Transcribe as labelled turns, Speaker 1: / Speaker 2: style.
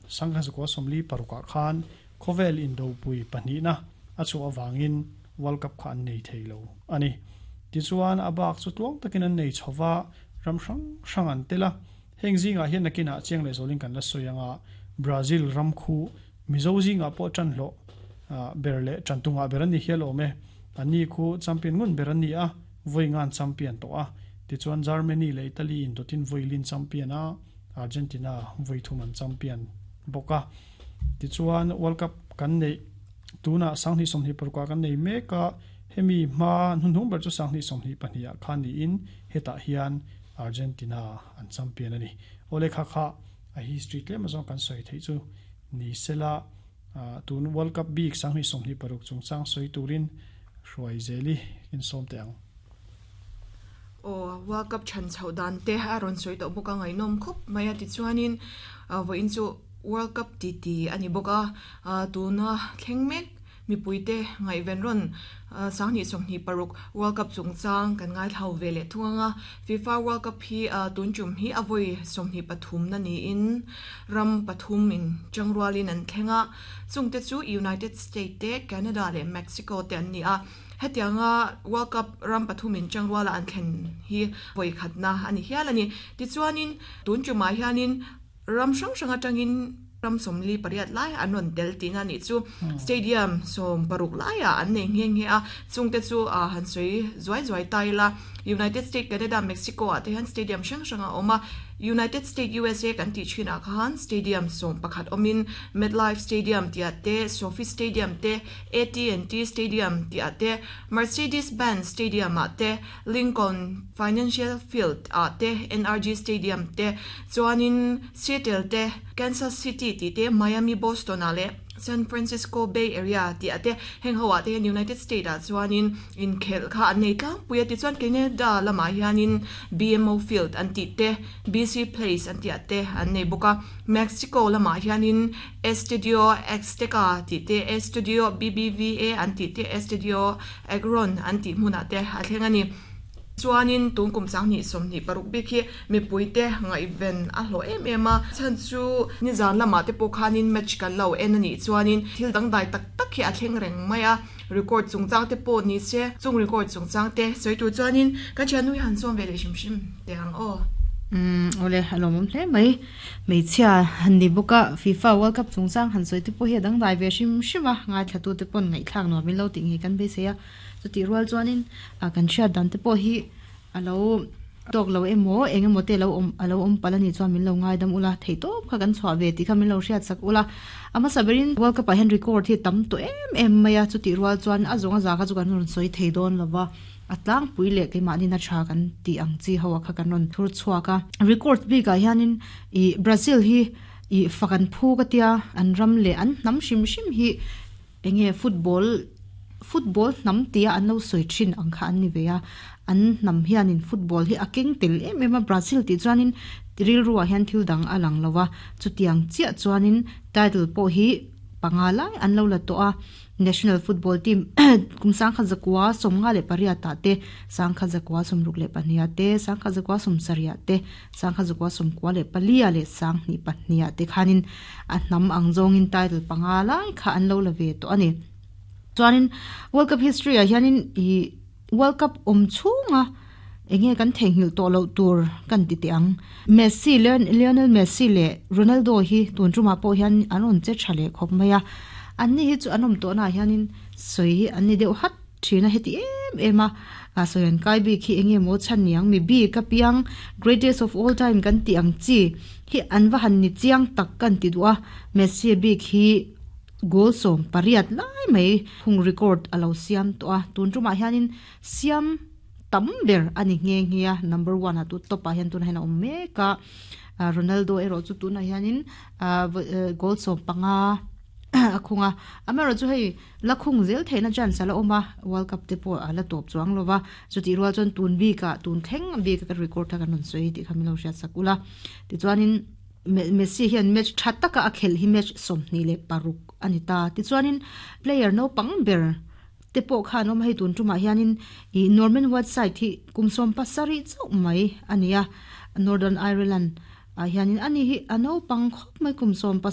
Speaker 1: 1946 ah khan khawvel indopui pahnihna a chhuah avangin World Cup kha an nei thei lo a ni. Tichuan, a bak chu tluang takin an nei chho va, ram hrang hrang an tel a. Heng zingah hian nakinah chiang leh zawlin kan la sawi ang a, Brazil ram khu Mizo zingah pawh ṭan hlawh ber leh ṭan tungah ber an ni hial awm e. Anni khu champion ngun ber an ni a, vawi ngan champion tawh a. Tichuan Germany leh Italy indawtin vawi lin champion a, Argentina vawi thum an champion bawk a. Tichuan World Cup kan neih tunah 2026 ah kan nei mek a, hemi hma hnuhnung ber chu 2022 ah khan niin hetah hian Argentina an champion a ni. Awle kha kha a history tlem azawng kan sawi theih chu ni sela tun World Cup bik 2026 chungchang sawi turin hruai zeli insawm teh ang.
Speaker 2: Aw, World Cup chhan chhoh dan te a rawn sawi tawh bawk a, ngaihnawm khawp mai a. Tichuanin vawiin chu World Cup titi a ni bawk a, tuna thleng mek mipuite ngaihven rawn 2026 World Cup chungchang kan ngaithlau ve leh thung ang a. FIFA World Cup hi tun tum hi a vawi 23 na niin ram pathum in tangrualin an thleng a, chungte chu United State te, Canada leh Mexico te an ni a. Hetianga World Cup ram pathum in tangruala an thlen hi vawi khatna a ni hial a ni. Tichuanin tun tumah hianin ram hrang hrang atangin ram 48 lai an rawn tel tihna a nih chu. Stadium 16 laiah an nei nghe nghe a, chungte chu han sawi zuai zuai ta ila. United State, Canada, Mexico ah te hian stadium hrang hrang a awm a. United State, usa kan tih thinah khan stadium 11 awmin MetLife Stadium tih ah te, SoFi Stadium te, AT&T Stadium tih ah te, Mercedes-Benz Stadium ah te, Lincoln Financial Field ah te, NRG Stadium te, chuanin Seattle te, Kansas City tih te, Miami, Boston ah leh San Francisco Bay Area tih ah te, heng ho ah te hian United State ah chuanin inkhelh kha an nei tlangpui a. Tichuan Canada lamah hianin BMO Field an tih te, BC Place an tih ah te an nei bawk a. Mexico lamah hianin Estadio Azteca tih te, Estadio BBVA an tih te, Estadio Akron an tih hmunah te a thleng a ni. Chuanin tun kum 2026 bik hi mipuite ngaihven a hlawh em em a, chhan chu nizan lamah te pawh khanin match kan lo en a nih chuanin thil dangdai tak tak hi a thleng reng mai a, record chungchang te pawh ni se, chung record chungchang te sawi tur chuanin ka thiannu hi han sawm ve leh hrim hrim teh ang aw.
Speaker 3: Umm awle a lawmawm hle mai. Hmeichhia han ni bawk a, FIFA World Cup chungchang han sawi te pawh hi a dangdai ve hrim hrim a, ngaithlatute pawn ngaihthlak nuam in lo tih ngei kan beisei a, chutih rual chuanin kan hriat dan te pawh hi a lo tawk lo emaw eng emaw te lo awm a lo awm palh a nih chuan min lo ngaidam ula, theihtawp kha kan chhuah ve tih kha min lo hriat sak ula, a hmasa berin World Cup ah hian record hi a tam tawh em em mai a, chutih rual chuan a zawng a za kha chu kan rawn sawi thei dawn lo va. A tlangpui leh keimahni na tha kan tih ang chi ho ah kha kan rawn thur chhuak a. Record bik ah hianin ih Brazil hi ih fak an phu ka tia, an ram leh an hnam hrim hrim hi enge football football hnam tia an lo sawi thin ang kha an ni ve a. An hnam hianin football hi a keng tel em em a, Brazil tih chuanin rilru ah hian thil dang a lang lo a, chutiang chiah chuanin title pawh hi panga lai an lo la tawh a. National Football Team kum 1958 ah te, 1962 ah te, 1970 ah te, 1994 ah leh 2002 ah te khanin a hnam ang zawngin title panga lai kha an lo la ve tawh a ni. Chuanin World Cup history ah hianin ih World Cup awm chhunga enge kan theihnghilh tawh loh tur kan ti teh ang. Messi, Lionel Messi leh Ronaldo hi tun tumah pawh hian an rawn che tha leh khawp mai a. Anni hi chu an awm tawhnaah hianin sawi hi an ni deuh hat thin a, heti em em a sawi an kai bik hi enge maw chhan ni ang, mi bik a piang greatest of all time kan tih ang chi hi an va han ni chiang tak kan ti duh a, Messi bik hi Goal 18 lai mai hung record a lo siam tawh a, tun tumah hianin siam tam ber a ni nghe nghe a, number one ah tu top ah hian tunah hian a awm mek a, Ronaldo erawh chu tunah hianin goal 15 a khung a, amaherawh chu hei la khung zel theihna chance a la awm a, World Cup te pawh a la tawp chuang lo va, chutih rual chuan tun bikah tun thleng bik a record kha kan rawn sawi tih kha min lo hriat sak ula, tichuanin. Messi hian match tha taka a khelh hi match 26 a ni ta. Tichuanin player naupang ber te pawh kha an awm a, hei tun tumah hianin ih Norman Whiteside hi kum 17 chauh mai a ni a, Northern Ireland ah hianin ani hi a naupang khawp mai kum 17.